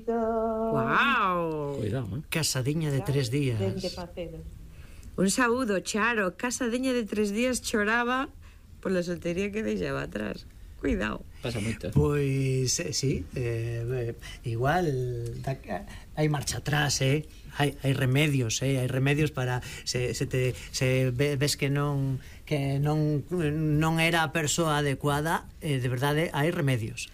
Wow. Cuidado, Casadiña de 3 días. Un saúdo, Charo. Casadiña de 3 días choraba pola soltería que deixaba atrás. Cuidado. Pasa moito. Pois, sí, igual hai marcha atrás, hai remedios, hai remedios para se ves que non era a persoa adecuada, de verdade hai remedios.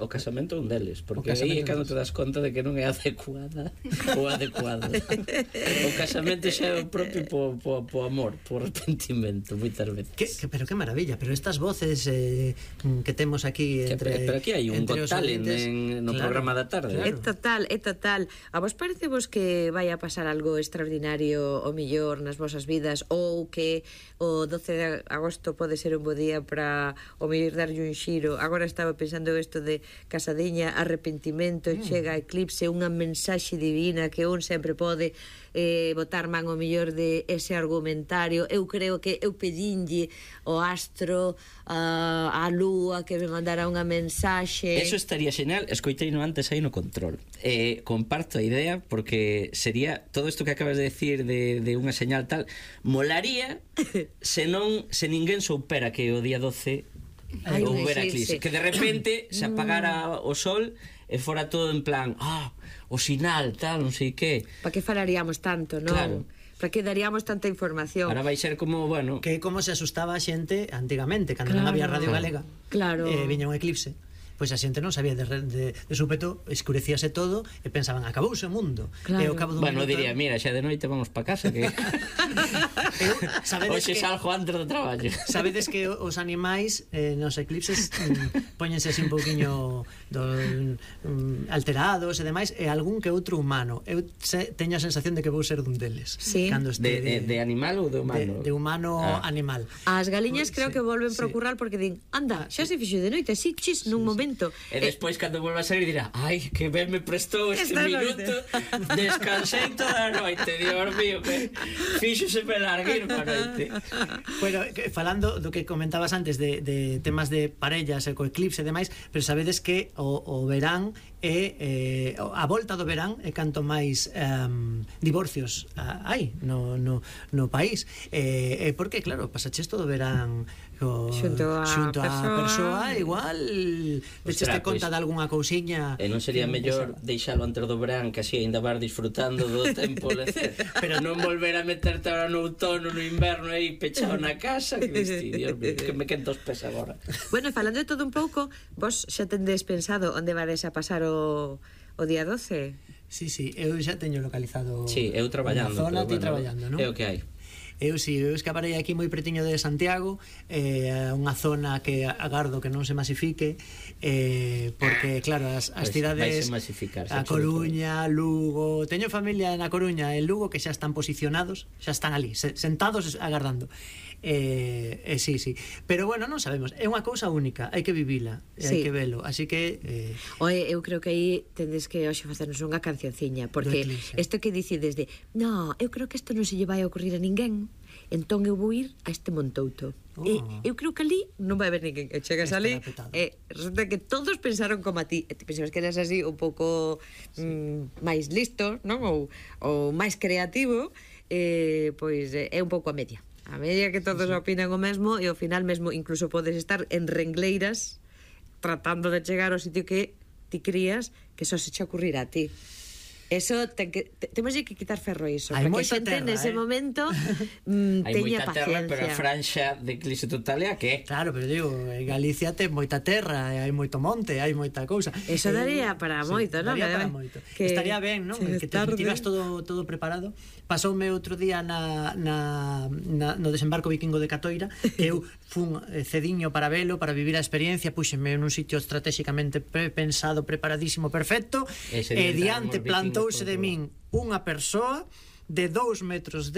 O casamento é un deles, porque aí é cando te das conta de que non é adecuada ou adecuado. O casamento xa é o propio po amor, po arrepentimento, moitas veces. Pero que maravilla, pero estas voces que temos aquí entre... Pero aquí hai un Got Talent no programa da tarde. É total. A vos parecevos que vai a pasar algo extraordinario o millor nas vosas vidas, ou que o 12 de agosto pode ser un bo día para o mellor darlle un xiro? Agora estaba pensando isto de casadiña, arrepentimento, chega eclipse, unha mensaxe divina que un sempre pode botar man o mellor de ese argumentario. Eu creo que eu pedinlle o astro a lúa que me mandara unha mensaxe. Eso estaría xenial. Escoiteino antes aí no control. Comparto a idea, porque sería todo isto que acabas de decir de unha señal tal, molaría se ninguén soupera que o día 12 houbera eclipse, que de repente se apagara o sol e fora todo en plan o sinal, tal, non sei que. Para que falaríamos tanto, non? Claro. Para que daríamos tanta información. Ahora vai ser como, bueno, que como se asustaba a xente antigamente, cando non había Radio Galega, viña un eclipse, pois a xente non sabía de súpeto, escurecíase todo e pensaban, acabouse o mundo. E ao cabo dun minuto diría, mira, xa de noite vamos pa casa, que hoxe salgo antes do traballo. Sabedes que os animais nos eclipses póñense así un pouquiño alterados e demais, e algún que outro humano. Eu teño a sensación de que vou ser dun deles. De animal ou de humano? De humano animal. As galiñas creo que volven procurrar porque din, anda, xa se fixo de noite, así chis nun momento. E despois cando volva a salir dirá, ai, que ben me prestou este minuto, descansei toda a noite, Dios mío, que fíxose me larguir pa noite. Bueno, falando do que comentabas antes de temas de parellas e co eclipse e demais, pero sabedes que o verán é a volta do verán é canto máis divorcios hai no país, porque claro, pasaches todo o verán xunto a persoa, igual deixeste conta de algunha cousiña. E non sería mellor deixalo antes do verán, que así ainda vas disfrutando do tempo lecer, pero non volver a meterte ahora no outono, no inverno aí pechado na casa, que Dios mío, que me quento os pés agora. Bueno, falando de todo un pouco, vos xa tendes pensado onde varedes a pasar o día 12? Sí, eu xa teño localizado. Sí, eu traballando. Na zona, ti traballando, non? É o que hai. Eu escaparei aquí moi pretiño de Santiago, unha zona que agardo que non se masifique, porque claro, as cidades, a Coruña, Lugo, teño familia na Coruña e Lugo que xa están posicionados, xa están ali, sentados agardando. Sí, pero bueno, non sabemos, é unha cousa única, hai que vivila, hai que velo, así que eu creo que aí tendes que hoxe facernos unha cancionciña, porque isto que dicides de, no, eu creo que isto non se lle vai a ocurrir a ninguén, entón eu vou ir a este Montouto. Eu creo que ali non vai haber ninguén, e chegas ali e resulta que todos pensaron como a ti, e ti pensabas que eras así un pouco máis listo, non? Ou máis creativo, pois é un pouco a media que todos opinan o mesmo, e ao final mesmo incluso podes estar en rengleiras tratando de chegar ao sitio que ti crías que só se che ocurrirá a ti. Eso temos que quitar ferro iso, porque a xente nese momento teña paciencia. Hai moita terra, pero a franxa de eclipse total é a que? Claro, pero digo, en Galicia ten moita terra, hai moito monte, hai moita cousa. Eso daría para moito, non? Daría para moito. Estaría ben, non? Que te tiras todo preparado. Pasoume outro día no desembarco vikingo de Catoira, que eu fun cediño para velo, para vivir a experiencia, puxenme nun sitio estratégicamente pensado, preparadísimo, perfecto, e diante plantouse de min unha persoa de 2,10 metros